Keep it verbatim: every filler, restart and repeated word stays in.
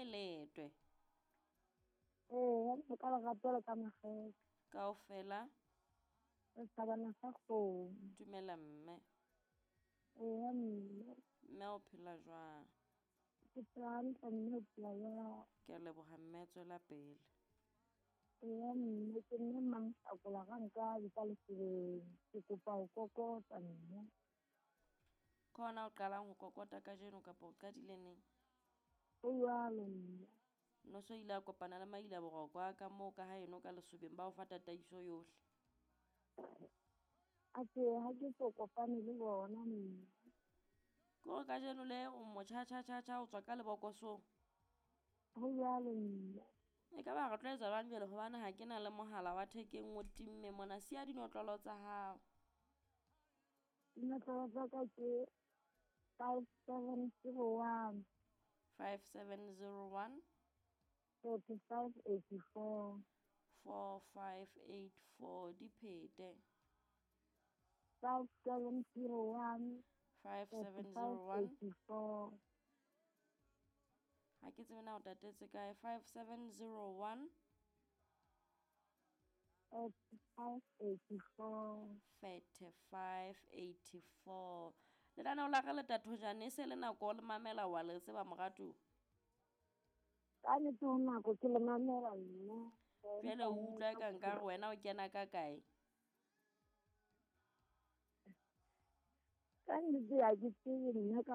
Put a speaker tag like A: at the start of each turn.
A: Kae letwe?
B: Ee, mme ka lerato le ka makgethe.
A: Kaofela.
B: Re thabana sa kgomo.
A: Dumela mme.
B: Ee, mme.
A: Mme o phela jwang?
B: Ke phela hantle mme, o phela jwang?
A: Ke a leboha mme, tswela pele.
B: Ee, mme ke mme Mmamohlakola Rankabi ka Lesobeng. Ke kopa ho kokota mme.
A: Ke hona o qalang ho kokota kajeno kapa o qadile neng?
B: Ho jwalo mme.
A: No so ile a kopana le Maila Boroko a ka moo ka haeno ka Lesobeng ba o fa tataiso yohle.
B: Atjhe, ha ke so kopane le bona mme.
A: Ke hore kajeno le o motjha tjha tjha tjha o tswa ka lebokosong.
B: Ho jwalo mme.
A: E ka ba re tlo etsa jwang jwale hobane ha ke na le mohala wa thekeng o timme mona, siya dinotlolo tsa hao.
B: Dinotlolo tsa ka ke five seven zero one.
A: five seven zero one.
B: Forty five eighty four.
A: four five eight four. Di phete.
B: five seven zero one.
A: five seven zero one.
B: Eighty four.
A: Ha ke tsebe na o tatetse kae. five seven zero one.
B: Thirty five eighty four.
A: thirty five eighty four. Lenaneo la ka le Tathojane e se le nako le mamela wa le tseba moratuwa.
B: Ka nnete ho nako ke le mamela nna.
A: Jwale o utlwa eka nkare wena o kena ka kae?
B: Ka nnete ha ke tsebe nna ka